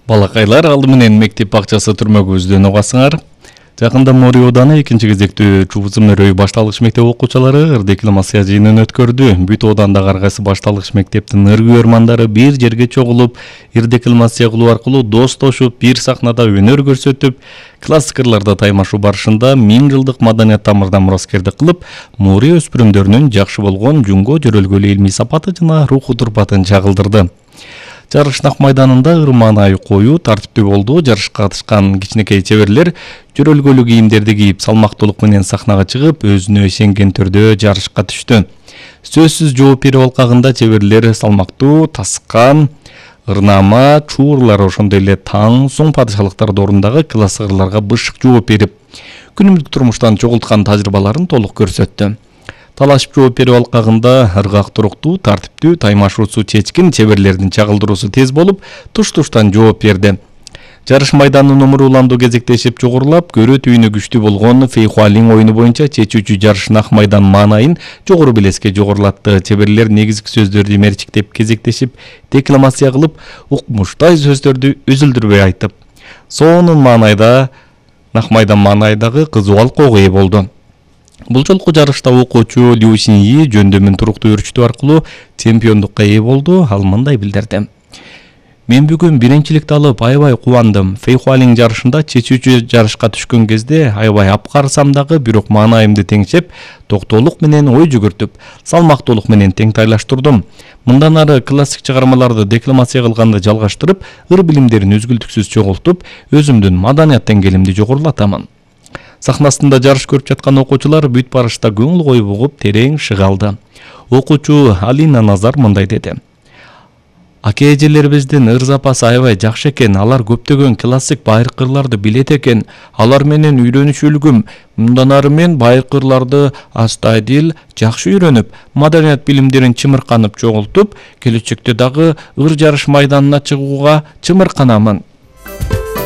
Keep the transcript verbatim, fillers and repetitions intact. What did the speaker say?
Балакайлар алды менен мектеп бакчасы түрмөгүбүздөн угасыңар. Жакында Мори ооданы экинчи кезектүү Чубузум өрөй башталгыч мектеп окуучулары ыр декламация жыйынын өткөрдү. Бүт оодандагы ар кайсы башталгыч мектептин ыр күйөрмандары бир жерге чогулуп, ыр декламация кылуу аркылуу достошуп, бир сахнада өнөр көрсөтүп, классик ырларда таймашуу барышында миң жылдык маданият тамырдан мураскердик кылып, Мори өспүрүмдөрүнүн жакшы болгон жунго жөрөлгөлүү илмий сапаты жана руху турпатын чагылдырды. Жарыш Нак майданында ыр маанайы коюу, тартиптүү болду. Жарышка катышкан кичинекей чеберлер жөрөлгөлүү кийимдерди кийип, салмактуулук менен сахнага чыгып, өзүнө ишенген түрдө жарышка түштү. Сөзсүз жооп берүү алкагында чеберлер салмактуу, таскан, ырнаама, чуурлар, ошондой эле таң, соң падышалыктар дорундагы классик ырларга бышык жооп берип, күнүмдүк турмуштан чогулткан тажрыйбаларын толук көрсөттү. Талашып жооп берүү алкагында ыргак туруктуу, тартиптүү, таймашуусу чечкин, чеберлердин чагылдыруусу тез болуп, туш-туштан жооп берди. Жарыш майданын номуруландуу кезектешип жогорулап, көрө түйүнү күчтүү болгон Фейхуалин оюну боюнча чечүүчү Жарыш Нак майдан маанайын жогору белеске жогорулатты. Чеберлер негизги сөздөрдү мерчиктеп, кезектешип, декламация кылып, укмуштай сөздөрдү үзүлдүрбөй айтып, сонун маанайда Нак майдан маанайдагы кызуу алкоого ээ болду. Бул жолку жарышта окуучу Лю Синьи жөндөмүн туруктуу өрчүтүү аркылуу чемпиондукка ээ болду. Ал мындай билдирди: Мен бүгүн биринчиликти алып аябай кубандым. Фейхуалин жарышында чечүүчү жарышка түшкөн кезде аябай апкарсам дагы, бирок маанайымды теңшеп, токтоолук менен ой жүгүртүп, салмактуулук менен тең тайлаштырдым. Мындан ары классик чыгармаларды декламация кылганды жалгаштырып, ыр билимдерин үзгүлтүксүз чогултуп, өзүмдүн маданият деңгээлимди жогорулатамын. Сахнасында жарыш көрүп жаткан окуучулар бүт барышта көңүл коюп угуп, терең шыга алды. Окуучу Алина Назар мындай деди: Аке эжелерибиздин ыр запасы аябай жакшы экен, алар көптөгөн классик байыркы ырларды билет экен. Алар менен үйрөнүшүлгүм. Мындан ары мен байыркы ырларды астайдыл жакшы үйрөнүп, маданият билимдерин чымырканып чогултуп, келечекте дагы ыр жарыш майданына чыгууга чымырканамын.